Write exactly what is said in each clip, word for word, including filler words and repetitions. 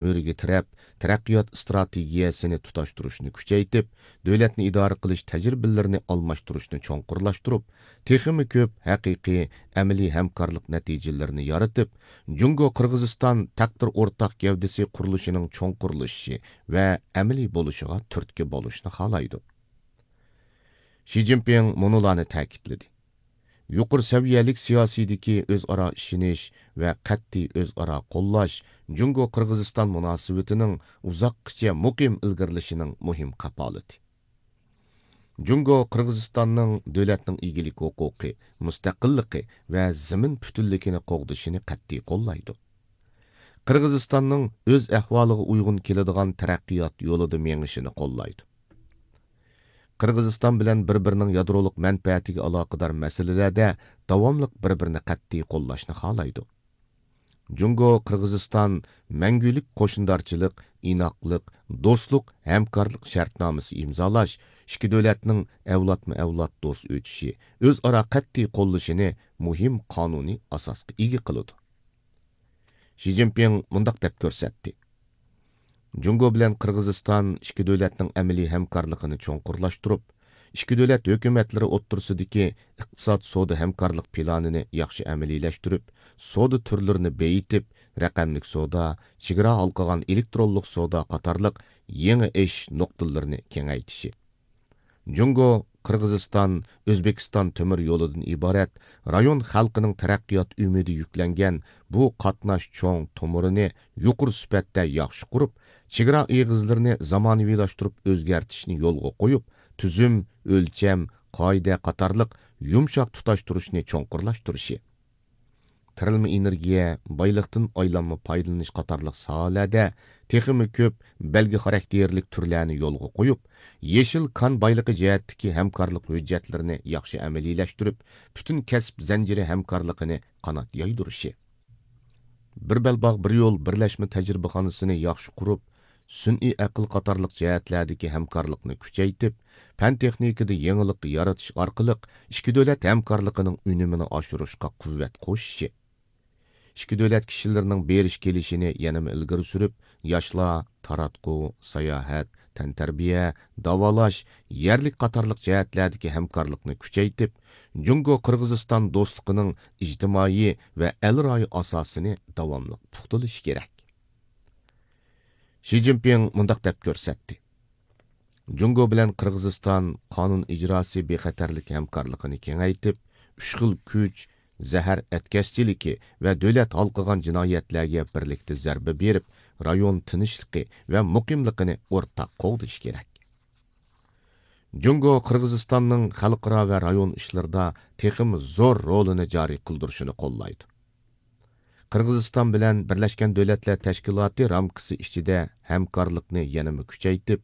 ئۆرىگە تىرەپ، تەرەققىيات ئىستراتېگىيەسىنى تۇتاشتۇرۇشنى كۈچەيتىپ، دۆلەتنى ئىدارە قىلىش تەجرىبىلىرىنى ئالماشتۇرۇشنى چوڭقۇرلاشتۇرۇپ، تېخىمۇ كۆپ ھەقىقىي ئەمەلىي ھەمكارلىق نەتىجىلىرىنى يارىتىپ، جۇڭگو قىرغىزىستان تەقدىر ئورتاق گەۋدىسى قۇرۇلۇشىنىڭ چوڭقۇرلىشىشى ۋە ئەمەلىي بولۇشىغا تۈرتكە بولۇشنى خالايدۇ. شى جىنپىڭ مۇنۇلارنى تەكىتلىدى: يۇقىرى سەۋىيەلىك سىياسىيدىكى ئۆزئارا ئىشىنىش ۋە قەتئىي ئۆزئارا قوللاش جۇڭگو قىرغىزىستان مۇناسىۋىتىنىڭ ئۇزاققىچە مۇقىم ئىلگىرىلىشىنىڭ مۇھىم كاپالىتى. جۇڭگو قىرغىزىستاننىڭ دۆلەتنىڭ ئىگىلىك ھوقۇقى، مۇستەقىللىقى ۋە زېمىن پۈتۈنلۈكىنى قوغدىشىنى قەتئىي قوللايدۇ. قىرغىزىستاننىڭ ئۆز ئەھۋالىغا ئۇيغۇن كېلىدىغان تەرەققىيات يولىدا مېڭىشىنى قوللايدۇ. قىرغىزىستان بىلەن بىر-بىرىنىڭ يادرولۇق مەنپەئەتىگە ئالاقىدار مەسىلىلەردە داۋاملىق بىر-بىرىنى قەتئىي قوللاشنى خالايدۇ. جۇڭگو قىرغىزىستان مەڭگۈلۈك قوشنىدارچىلىق، ئىناقلىق، دوستلۇق، ھەمكارلىق شەرتنامىسى ئىمزالاش، ئىككى دۆلەتنىڭ ئەۋلادمۇ ئەۋلاد دوست ئۆتۈشى، ئۆزئارا قەتئىي قوللىشىنى مۇھىم قانۇنىي ئاساسقا ئىگە قىلىدۇ. شى جىنپىڭ مۇنداق دەپ كۆرسەتتى: جۇڭگو بىلەن قىرغىزىستان ئىككى دۆلەتنىڭ ئەمەلىي ھەمكارلىقىنى چوڭقۇرلاشتۇرۇپ، ئىككى دۆلەت ھۆكۈمەتلىرى ئوتتۇرىسىدىكى ئىقتىساد سودا ھەمكارلىق پىلانىنى ياخشى ئەمەلىيلەشتۈرۈپ، سودا تۈرلىرىنى بېيىتىپ، رەقەملىك سودا، چېگرا ھالقىغان ئېلېكترونلۇق سودا قاتارلىق يېڭى ئېشىش نۇقتىلىرىنى كېڭەيتىشى. جۇڭگو، قىرغىزىستان، ئۆزبېكىستان تۆمۈر يولىدىن ئىبارەت رايون خەلقىنىڭ تەرەققىيات ئۈمىدى يۈكلەنگەن بۇ قاتناش چوڭ تومۇرىنى يۇقىرى سۈپەتتە ياخشى قۇرۇپ، چېگرا ئېغىزلىرىنى زامانىۋىلاشتۇرۇپ ئۆزگەرتىشنى يولغا قويۇپ، تۈزۈم، ئۆلچەم، قائىدە قاتارلىق يۇمشاق تۇتاشتۇرۇشنى چوڭقۇرلاشتۇرۇشى. تىرىلما ئېنېرگىيە، بايلىقتىن ئايلانما پايدىلىنىش قاتارلىق ساھەلەردە تېخىمۇ كۆپ بەلگە خاراكتېرلىك تۈرلەرنى يولغا قويۇپ، يېشىل كان بايلىقى جەھەتتىكى ھەمكارلىق ھۆججەتلىرىنى ياخشى ئەمەلىيلەشتۈرۈپ، پۈتۈن كەسىپ زەنجىرى ھەمكارلىقىنى قانات يايدۇرۇشى. بىر بەلباغ، بىر يول بىرلەشمە تەجرىبىخانىسىنى ياخشى قۇرۇپ، سۈنئىي ئەقىل قاتارلىق جەھەتلەردىكى ھەمكارلىقنى كۈچەيتىپ، پەن تېخنىكىدا يېڭىلىق يارىتىش ئارقىلىق ئىككى دۆلەت ھەمكارلىقىنىڭ ئۈنۈمىنى ئاشۇرۇشقا قۇۋۋەت قوشۇشى. ئىككى دۆلەت كىشىلىرىنىڭ بېرىش كېلىشىنى يەنىمۇ ئىلگىرى سۈرۈپ، ياشلار، تاراتقۇ، ساياھەت، تەنتەربىيە، داۋالاش، يەرلىك قاتارلىق جەھەتلەردىكى ھەمكارلىقنى كۈچەيتىپ، جۇڭگو قىرغىزىستان دوستلۇقىنىڭ ئىجتىمائىي ۋە ئەل رايى ئاساسىنى داۋاملىق پۇختىلىشى كېرەك. شى جىنپىڭ مۇنداق دەپ كۆرسەتتى: جۇڭگو بىلەن قىرغىزىستان قانۇن ئىجراسى بىخەتەرلىك ھەمكارلىقىنى كېڭەيتىپ، ئۈچ خىل كۈچ، زەھەر ئەتكەسچىلىكى ۋە دۆلەت ھالقىغان جىنايەتلەرگە بىرلىكتە زەربە بېرىپ، رايون تىنچلىقى ۋە مۇقىملىقىنى ئورتاق قوغدىشى كېرەك. جۇڭگو قىرغىزىستاننىڭ خەلقئارا ۋە رايون ئىشلىرىدا تېخىمۇ زور رولىنى جارى قىلدۇرۇشىنى قوللايدۇ. قىرغىزىستان بىلەن بىرلەشكەن دۆلەتلەر تەشكىلاتى رامكىسى ئىچىدە ھەمكارلىقنى يەنىمۇ كۈچەيتىپ،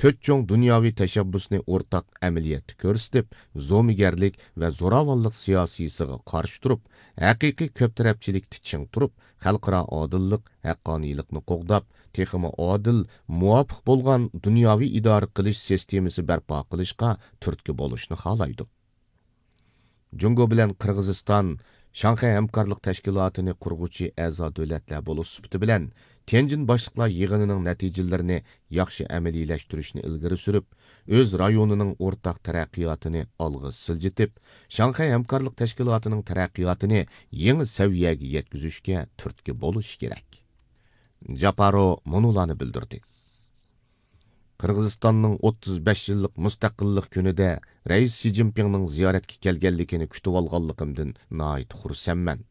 تۆت چوڭ دۇنياۋى تەشەببۇسنى ئورتاق ئەمەلىيەتتە كۆرسىتىپ، زومىگەرلىك ۋە زوراۋانلىق سىياسىيسىغا قارشى تۇرۇپ، ھەقىقىي كۆپ تەرەپچىلىكتە چىڭ تۇرۇپ، خەلقئارا ئادىللىق، ھەققانىيلىقنى قوغداپ، تېخىمۇ ئادىل، مۇۋاپىق بولغان دۇنياۋى ئىدارە قىلىش سىستېمىسى بەرپا قىلىشقا تۈرتكە بولۇشنى خالايدۇ. جۇڭگو بىلەن قىرغىزىستان شاڭخەي ھەمكارلىق تەشكىلاتىنى قۇرغۇچى ئەزا دۆلەتلەر بولۇش سۈپىتى بىلەن، تيەنجىن باشلىقلار يىغىنىنىڭ نەتىجىلىرىنى ياخشى ئەمەلىيلەشتۈرۈشنى ئىلگىرى سۈرۈپ، ئۆز رايونىنىڭ ئورتاق تەرەققىياتىنى ئالغا سىلجىتىپ، شاڭخەي ھەمكارلىق تەشكىلاتىنىڭ تەرەققىياتىنى يېڭى سەۋىيەگە يەتكۈزۈشكە تۈرتكە بولۇشى كېرەك. جاپارو مۇنۇلارنى بىلدۈردى: قىرغىزىستاننىڭ ئوتتۇز بەش يىللىق مۇستەقىللىق كۈنىدە رەئىس شى جىنپىڭنىڭ زىيارەتكە كەلگەنلىكىنى كۈتۈۋالغانلىقىمدىن ناھايىتى خۇرسەنمەن.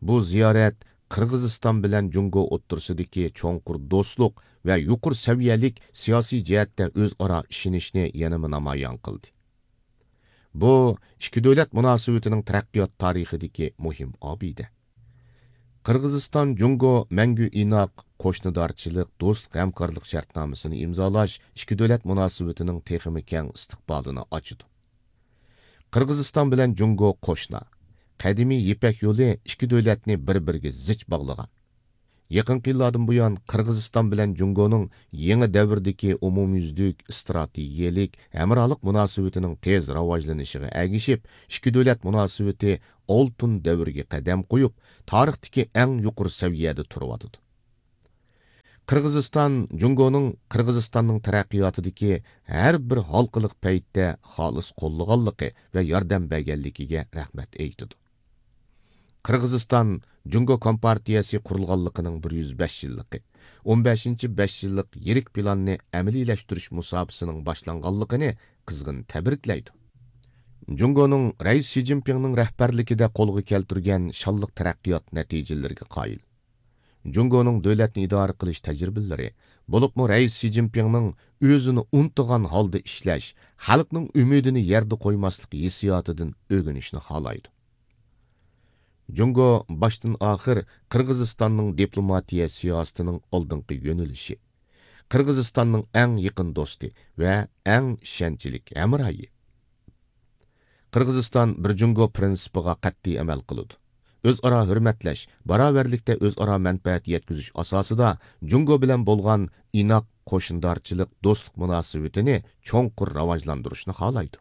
بۇ زىيارەت قىرغىزىستان بىلەن جۇڭگو ئوتتۇرىسىدىكى چوڭقۇر دوستلۇق ۋە يۇقىرى سەۋىيەلىك سىياسىي جەھەتتە ئۆزئارا ئىشىنىشنى يەنىمۇ نامايان قىلدى. بۇ ئىككى دۆلەت مۇناسىۋىتىنىڭ تەرەققىيات تارىخىدىكى مۇھىم ئابىدە. قىرغىزىستان جۇڭگو مەڭگۈ ئىناق قوشنىدارچىلىق، دوستلۇق ھەمكارلىق شەرتنامىسىنى ئىمزالاش ئىككى دۆلەت مۇناسىۋىتىنىڭ تېخىمۇ كەڭ ئىستىقبالىنى ئاچىدۇ. قىرغىزىستان بىلەن جۇڭگو قوشنا، قەدىمىي يىپەك يولى ئىككى دۆلەتنى بىر-بىرىگە زىچ باغلىغان. يېقىنقى يىللاردىن بۇيان، قىرغىزىستان بىلەن جۇڭگونىڭ يېڭى دەۋردىكى ئومۇميۈزلۈك ئىستراتېگىيەلىك ھەمراھلىق مۇناسىۋىتىنىڭ تېز راۋاجلىنىشىغا ئەگىشىپ، ئىككى دۆلەت مۇناسىۋىتى ئالتۇن دەۋرگە قەدەم قويۇپ، تارىختىكى ئەڭ يۇقىرى سەۋىيەدە تۇرۇۋاتىدۇ. قىرغىزىستان جۇڭگونىڭ قىرغىزىستاننىڭ تەرەققىياتىدىكى ھەر بىر ھالقىلىق پەيتتە خالىس قوللىغانلىقى ۋە ياردەم بەرگەنلىكىگە رەھمەت ئېيتىدۇ. قىرغىزىستان جۇڭگو كومپارتىيەسى قۇرۇلغانلىقىنىڭ بىر يۈز بەش يىللىقى، ئون بەشىنچى بەش يىللىق يىرىك پىلاننى ئەمەلىيلەشتۈرۈش مۇساپىسىنىڭ باشلانغانلىقىنى قىزغىن تەبرىكلەيدۇ. جۇڭگونىڭ رەئىس شى جىنپىڭنىڭ رەھبەرلىكىدە قولغا كەلتۈرگەن شانلىق تەرەققىيات نەتىجىلىرىگە قايىل. جۇڭگونىڭ دۆلەتنى ئىدارە قىلىش تەجرىبىلىرى، بولۇپمۇ رەئىس شى جىنپىڭنىڭ ئۆزىنى ئۇنتۇغان ھالدا ئىشلەش، خەلقنىڭ ئۈمىدىنى يەردە قويماسلىق ھېسسىياتىدىن ئۆگىنىشنى خالايدۇ. جۇڭگو باشتىن ئاخىر قىرغىزىستاننىڭ دىپلوماتىيە سىياسىتىنىڭ ئالدىنقى يۆنىلىشى، قىرغىزىستاننىڭ ئەڭ يېقىن دوستى ۋە ئەڭ ئىشەنچلىك ھەمراھى. قىرغىزىستان بىر جۇڭگو پىرىنسىپىغا قەتئىي ئەمەل قىلىدۇ. ئۆزئارا ھۆرمەتلەش، باراۋەرلىكتە ئۆزئارا مەنپەئەت يەتكۈزۈش ئاساسىدا جۇڭگو بىلەن بولغان ئىناق قوشنىدارچىلىق، دوستلۇق مۇناسىۋىتىنى چوڭقۇر راۋاجلاندۇرۇشنى خالايدۇ.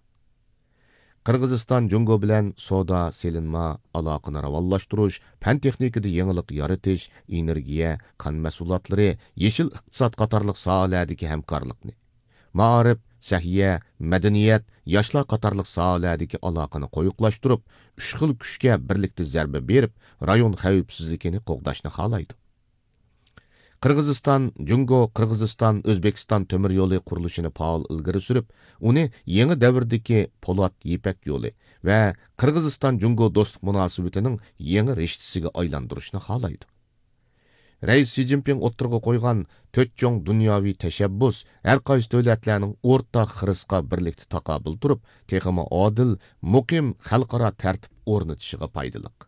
قىرغىزىستان جۇڭگو بىلەن سودا، سېلىنما، ئالاقىنى راۋانلاشتۇرۇش، پەن تېخنىكىدا يېڭىلىق يارىتىش، ئېنېرگىيە، كان مەھسۇلاتلىرى، يېشىل ئىقتىساد قاتارلىق ساھەلەردىكى ھەمكارلىقنى، مائارىپ، سەھىيە، مەدەنىيەت، ياشلار قاتارلىق ساھەلەردىكى ئالاقىنى قويۇقلاشتۇرۇپ، ئۈچ خىل كۈچكە بىرلىكتە زەربە بېرىپ، رايون خەۋپسىزلىكىنى قوغداشنى خالايدۇ. قىرغىزىستان، جۇڭگو، قىرغىزىستان، ئۆزبېكىستان تۆمۈر يولى قۇرۇلۇشىنى پائال ئىلگىرى سۈرۈپ، ئۇنى يېڭى دەۋردىكى پولات يىپەك يولى ۋە قىرغىزىستان، جۇڭگو دوستلۇق مۇناسىۋىتىنىڭ يېڭى رىشتىسىگە ئايلاندۇرۇشنى خالايدۇ. رەئىس شى جىنپىڭ ئوتتۇرىغا قويغان تۆت چوڭ دۇنياۋى تەشەببۇس ھەر قايسى دۆلەتلەرنىڭ ئورتاق خىرىسقا بىرلىكتە تاقابىل تۇرۇپ، تېخىمۇ ئادىل، مۇقىم خەلقئارا تەرتىپ ئورنىتىشىغا پايدىلىق.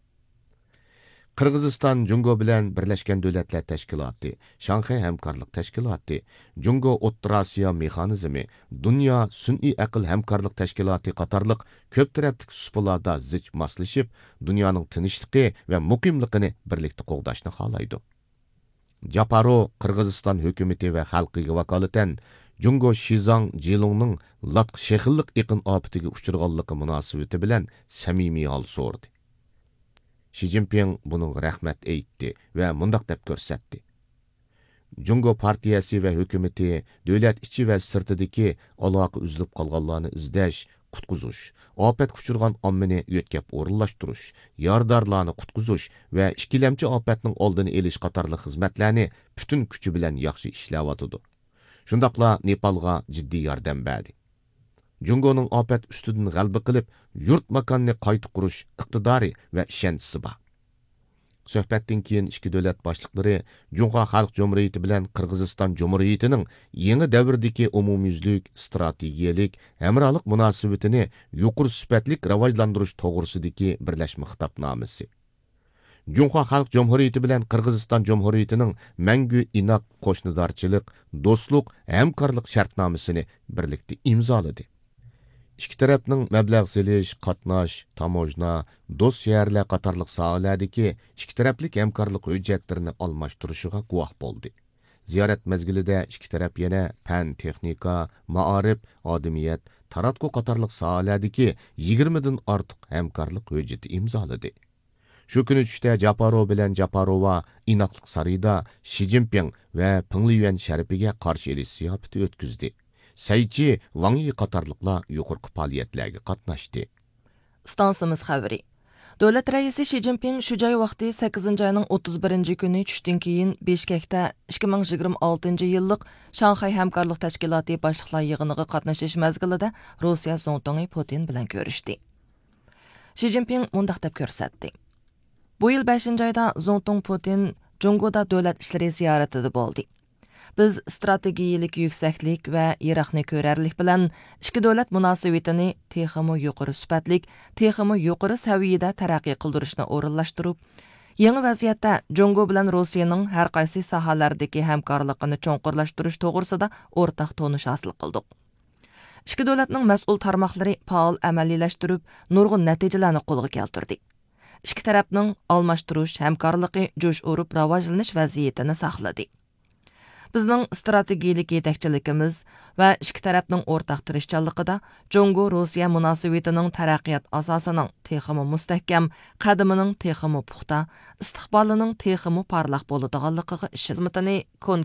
قىرغىزىستان جۇڭگو بىلەن بىرلەشكەن دۆلەتلەر تەشكىلاتى، شاڭخەي ھەمكارلىق تەشكىلاتى، جۇڭگو ئوتتۇرا ئاسىيا مېخانىزمى، دۇنيا سۈنئىي ئەقىل ھەمكارلىق تەشكىلاتى قاتارلىق كۆپ تەرەپلىك سۇپىلاردا زىچ ماسلىشىپ، دۇنيانىڭ تىنچلىقى ۋە مۇقىملىقىنى بىرلىكتە قوغداشنى خالايدۇ. جاپارو قىرغىزىستان ھۆكۈمىتى ۋە خەلقىگە ۋاكالىتەن جۇڭگو شىزاڭ جىلۇڭنىڭ لاتقا شېخىللىق ئېقىن ئاپىتىگە ئۇچرىغانلىقى مۇناسىۋىتى بىلەن سەمىمىي ھال سورىدى. شى جىنپىڭ بۇنىڭغا رەھمەت ئېيتتى ۋە مۇنداق دەپ كۆرسەتتى: جۇڭگو پارتىيەسى ۋە ھۆكۈمىتى دۆلەت ئىچى ۋە سىرتىدىكى ئالاقە ئۈزۈلۈپ قالغانلارنى ئىزدەش، قۇتقۇزۇش، ئاپەتكە ئۇچرىغان ئاممىنى يۆتكەپ ئورۇنلاشتۇرۇش، يارىدارلارنى قۇتقۇزۇش ۋە ئىككىلەمچى ئاپەتنىڭ ئالدىنى ئېلىش قاتارلىق خىزمەتلەرنى پۈتۈن كۈچى بىلەن ياخشى ئىشلەۋاتىدۇ. شۇنداقلا نېپالغا جىددىي ياردەم بەردى. جۇڭگونىڭ ئاپەت ئۈستىدىن غەلىبە قىلىپ، يۇرت ماكاننى قايتا قۇرۇش ئىقتىدارى ۋە ئىشەنچىسى بار. سۆھبەتتىن كېيىن ئىككى دۆلەت باشلىقلىرى جۇڭخۇا خەلق جۇمھۇرىيىتى بىلەن قىرغىزىستان جۇمھۇرىيىتىنىڭ يېڭى دەۋردىكى ئومۇميۈزلۈك ئىستراتېگىيەلىك ھەمراھلىق مۇناسىۋىتىنى يۇقىرى سۈپەتلىك راۋاجلاندۇرۇش توغرىسىدىكى بىرلەشمە خىتابنامىسى، جۇڭخۇا خەلق جۇمھۇرىيىتى بىلەن قىرغىزىستان جۇمھۇرىيىتىنىڭ مەڭگۈ ئىناق قوشنىدارچىلىق، دوستلۇق، ھەمكارلىق شەرتنامىسىنى بىرلىكتە ئىمزالىدى. ئىككى تەرەپنىڭ مەبلەغ سېلىش، قاتناش، تاموژنا، دوست شەھەرلەر قاتارلىق ساھەلەردىكى ئىككى تەرەپلىك ھەمكارلىق ھۆججەتلىرىنى ئالماشتۇرۇشىغا گۇۋاھ بولدى. زىيارەت مەزگىلىدە ئىككى تەرەپ يەنە پەن، تېخنىكا، مائارىپ، ئادىمىيەت، تاراتقۇ قاتارلىق ساھەلەردىكى يىگىرمىدىن ئارتۇق ھەمكارلىق ھۆججىتى ئىمزالىدى. شۇ كۈنى چۈشتە جاپارو بىلەن جاپاروۋا ئىناقلىق سارىيىدا شى جىنپىڭ ۋە پېڭ لىيۈەن شەرىپىگە قارشى ئېلىش زىياپىتى ئۆتكۈزدى. سەيچى، ۋاڭ يى قاتارلىقلار يۇقىرىقى پائالىيەتلەرگە قاتناشتى. ئىستانسىمىز خەۋىرى. دۆلەت رەئىسى شى جىنپىڭ شۇ جاي ۋاقتى سەككىزىنچى ئاينىڭ ئوتتۇز بىرىنچى كۈنى چۈشتىن كېيىن بىشكەكتە ئىككى مىڭ يىگىرمە ئالتىنچى يىللىق شاڭخەي ھەمكارلىق تەشكىلاتى باشلىقلار يىغىنىغا قاتنىشىش مەزگىلىدە روسىيە زۇڭتۇڭى پۇتىن بىلەن كۆرۈشتى. شى جىنپىڭ مۇنداق دەپ كۆرسەتتى: بۇ يىل بەشىنچى ئايدا زۇڭتۇڭ پۇتىن جۇڭگودا دۆلەت ئىشلىرى زىيارىتىدە بولدى. بىز ئىستراتېگىيىلىك يۈكسەكلىك ۋە يىراقنى كۆرەرلىك بىلەن ئىككى دۆلەت مۇناسىۋىتىنى تېخىمۇ يۇقىرى سۈپەتلىك، تېخىمۇ يۇقىرى سەۋىيەدە تەرەققىي قىلدۇرۇشنى ئورۇنلاشتۇرۇپ، يېڭى ۋەزىيەتتە جۇڭگو بىلەن روسىيەنىڭ ھەر قايسى ساھەلەردىكى ھەمكارلىقىنى چوڭقۇرلاشتۇرۇش توغرىسىدا ئورتاق تونۇش ھاسىل قىلدۇق. ئىككى دۆلەتنىڭ مەسئۇل تارماقلىرى پائال ئەمەلىيلەشتۈرۈپ، نۇرغۇن نەتىجىلەرنى قولغا كەلتۈردى. ئىككى تەرەپنىڭ ئالماشتۇرۇش ھەمكارلىقى جۇش ئۇرۇپ راۋاجلىنىش ۋەزىيىتىنى ساقلىدى. بىزنىڭ ئىستراتېگىيىلىك يېتەكچىلىكىمىز ۋە ئىككى تەرەپنىڭ ئورتاق تىرىشچانلىقىدا جۇڭگو روسىيە مۇناسىۋىتىنىڭ تەرەققىيات ئاساسىنىڭ تېخىمۇ مۇستەھكەم، قەدىمىنىڭ تېخىمۇ پۇختا، ئىستىقبالىنىڭ تېخىمۇ پارلاق بولىدىغانلىقىغا ئىشىنىمىز. خىزمىتىنى كونكرېت